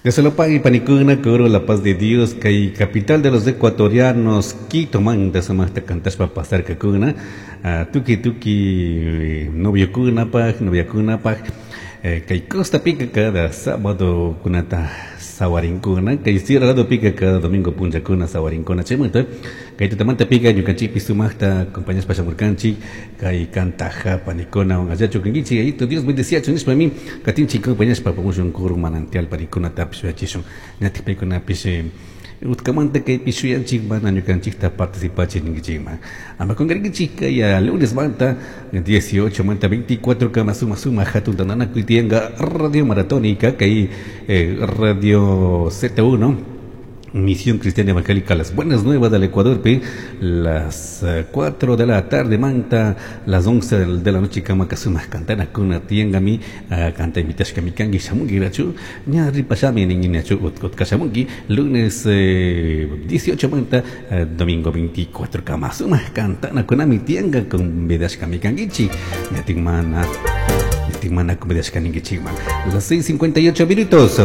Dios se lo pague, panicuna, coro la paz de Dios, kay capital de los ecuatorianos, Quito manta sumajta cantashpa pasarkakuna, tuki tuki noviokunapaj, noviakunapaj, kay costa pica cada sábado kunata sawarinkuna, kay sierra lado pica cada domingo punllakuna sawarinkuna, chaymanta kay tutamanta pica ñukanchikpi sumajta acompañashpa shamurkanchik, kay cantaja panikuna allachu kankichik, ayito Dios bendeciachun nishpami katinchik acompañashpa apamushun coro manantial panikunatapish yuyachishun, ñatik paykunapish utkamanta kaypi shuyanchik mana ñukanchikta participachi ninkichikman. Ama kunkarinkichik kay lunes manta 18 manta 24 kama suma suma hatun tantanakuy tiyanka Radio Maratónica kay Radio Z1 Misión Cristiana Evangélica Las Buenas Nuevas del Ecuador, pi, las 4 de la tarde manta, las 11 de la noche kama kasuma cantana kuna tiangami, canta invitashka mikangi shamungi rachu, ña ripashami ninguinachu utkashamungi, lunes 18 manta, domingo 24 kama suma cantana kunami tianga con vidashka mikangichi, ñatikmana, ñatikmana convidashka ningichikman. Las 6:58 minutos.